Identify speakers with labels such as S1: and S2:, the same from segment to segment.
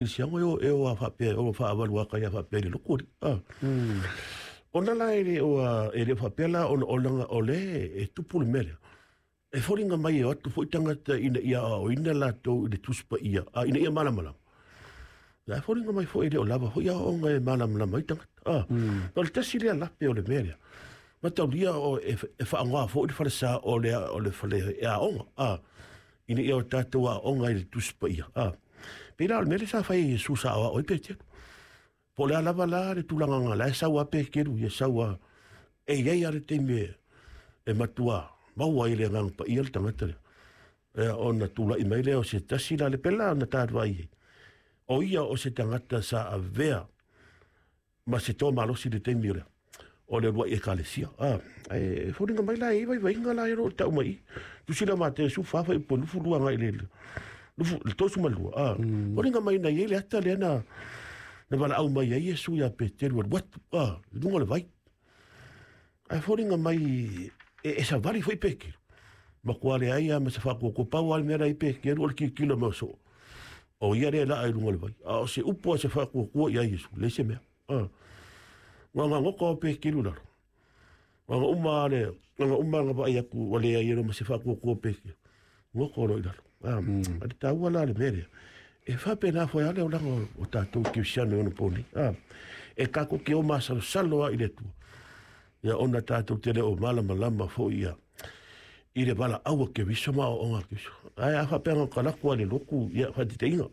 S1: Kerisiano e o e o a faapea e ono faavalu aka ia faapea i le lotu alii. A. Ona la e le o a, e le o faapea la ona o leaga o lea e tupu le mea lea. E foliga mai e o atu foi tagata ina ia aoaoina latou i le Tusi Paia, a ina ia malamalama. La e foliga mai foi e le o lava foi aoaoga e malamalama ai tagata. A. O le tasi lea lape o le mea lea. Mataulia o e, e faaaoga foi le falesa o le, o le fale e aoga. A. Ina ia o tatou aoga i le Tusi Paia. A. Pei la o le mea lea sa fai e Iesu sa aoao ai Peteru. Po o le a lava la le tulaga na la e sau a Peteru ia sau a e i ai lava le taimi e, e matua maua ai le Agaga Paia le tagata lea. Ia ona tulai mai lea o se tasi la le pela na tatou ai. O ia o se tagata sa avea ma se toa malosi i le taimi o le o le uluai ekalesia. A, e foliga mai la e i vaivaiga la e o lo o tau mai i. Tusi la Mateo 14 fuaiupu e 22 agai i le 32. A, foliga mai na i ai le ata lea na na valaau mai ai Iesu ia Peteru e alu atu, a, i luga o le vai. Ae foliga mai e, e savali foi Peteru. Matua leai lava ma se faatuatua, pau lava le mea la i ai Peteru o le tilotilo mai o soo. O ia lea e laa i luga o le vai. A o se upu a se faatuatua ia Iesu, leai se mea. A. Ua gagoto a Peteru i lalo. Ua uma le, ua uma na vaai atu ua leai e ma se faatuatua o Peteru. Goto loa i lalo. A, a le taua la le mea lea. E faapena foi lava le olaga o tatou kerisiano i ona po nei. A, e tatou te o masalosalo lava i le Atua. Ia ona tatou te le o malamalama foi ia i le valaau a Keriso ma aoaoga a Keriso. Ae a faapea na o latu lava i le lotu, ia faataitaiga,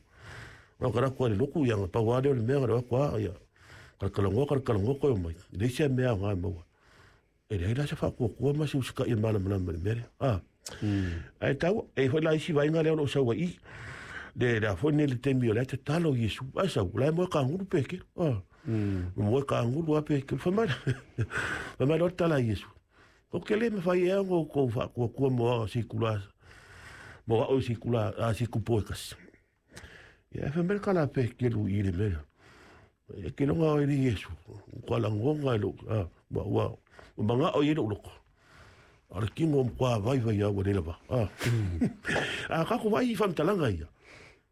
S1: na o latu lava i le lotu, ia na pau lava lea o le mea na o atu lava, ia talatalanoa, talatalanoa toe omai. E leai se mea aoga e maua. E leai la se faatuatua ma se usitai e malamalama i le mea lea. A. Ae taua, e i ai foi la isi vaega lea o lo o sau ai i i. Le, le a foi nei le taimi o la e tatalo Iesu, ae sau, o la e moe kagulu Peteru. A. Moe kagulu lava Peteru. Fai mai, fai mai loa le tala a Iesu, Ou te le mawhai ea ona outou whaakuakua mo ao si kula, mo ao si kula, a si kupu e kasi. Ia, e whai mai le kala a Peteru i le mea. E ke longa o i Iesu, kua langonga e lou, a, ua, ua, ua mangao i e lou loko. A o le kino o matua vaivai a ua le lava. A, a kako vai i whamtalanga ia.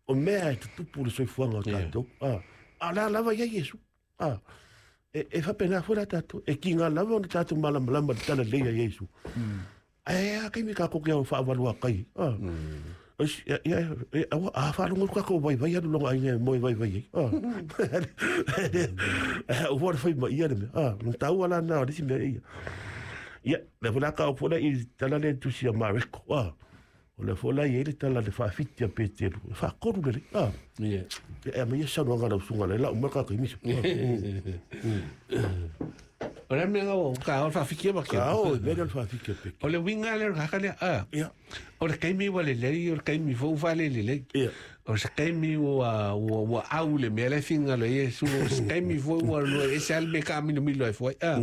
S1: O mea e tutupu le soifuaga o tatou. A, a o le a lava ia Iesu. A, e, e faapena foi la tatou. E kiga lava ona tatou malamalama i le talalelei a Iesu. Ae a taimi tatou te faavalu kai. A, ia, ia, e, aua, a faalogo atu tatou vaivai alu lona aiga e moe vaivai ai. A, ua le fai mai ia le mea. A, na taua la na o le isi mea ia. Ia, lea foi la ka o foi la i tala le tusi a Mareko. A, O lea foi la e i ai le tala le faafiti a Peteru, e faatolu lelei. Ah.
S2: Yeah.
S1: E aumai ia saunoaga a lau susuga lea, lau mai le tagata misa.
S2: O le mea o ka o faafiti ma ke.
S1: Ka o, mea lea o le faafiti a Peteru.
S2: O le uiga lea o le kaka lea, ah.
S1: Ia.
S2: O le taimi ua lelei, o le taimi foi ua faalelelei.
S1: Ia.
S2: O se taimi ua, ua, ua au le mea lea e finagalo ai Iesu, o se taimi foi ua lua ese lava le mea e taamilomilo ai foi, ah.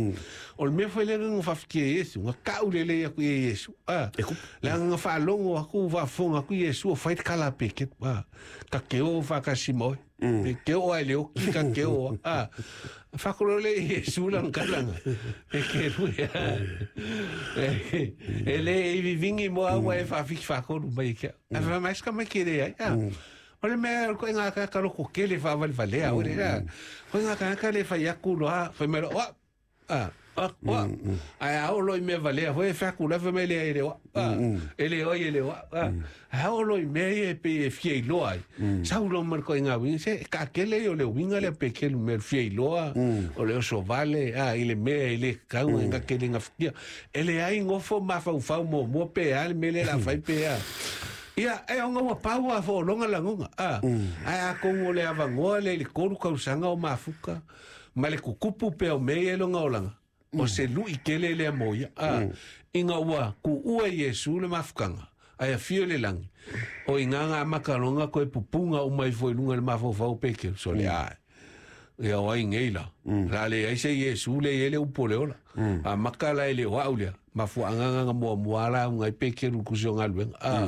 S2: O le mea foi lea na faafiti e Iesu, na tau lelei atu i e Iesu, ah.
S1: E kupu.
S2: Leaga na faalogo atu, faafofoga atu Iesu o fai le tala a Peteru, ah. Ta te o faatasi ma oe. Pe te oo lava i le oti, ta te oo lava, ah. Faatolo lea i Iesu lana tala na Peteru ia. E le i vivigi mo au ae faafiki faatolu mai e ke au. Ae fai mai, se tamaiti e leai, ah. O le mea o le ituaiga tagata loko tele faavalevalea oe le, ah. Ituaiga tagata le fai atu loa, fai mai loa, oa, ah, oa, oa. Ae a oo loa i mea valea foi e fai atu la fai mai e leai e le oa, ah. E le oe e le oa, ah. Ae a oo loa i mea ia e pei e fia iloa ai, sau loa ma le ituaiga uiga, se e taatele ia o le uiga lea pe kelu mea o le fia iloa, o le oso vale, ah, i le mea e le tatau ona te le gafatia. E leai nofo mafaufau muamua pe a le mea lea o le a fai pe a. Ia, e ona ua pau lava foologa lagona, ah. Ae atonu o le avanoa lea i le 3 tausaga o mafuta ma le tutupu pea o mea ia i lona olaga, o se lui tele lea mo ia, a, ina ua tuua e Iesu le mafutaga, ae afio i le lagi, o i ina na amata loa ona toe pupuga uma ifo i luga i le mafaufau o Peteru, sole ae, ia o ai nei la, o le a leai se Iesu lea e i ai le upu o le ola. Amata la e le o au lea, mafuaaga na na muamua lauga ai Peteru i le tusi o galuega, a,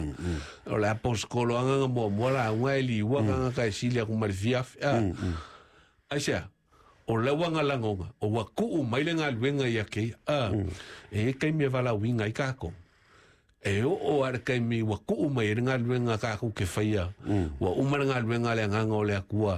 S2: o le aposetolo lava na na muamua lauga e liua tagata e sili atu ma le fia afe, a, aisea? O lau lagona, o ua tuu mai le galuega ia te ia. A, e i ai taimi e valaauina ai tatou. E oo lava i le taimi ua tuu mai ai le galuega tatou te faia, ua uma le galuega a le Agaga o le Atua.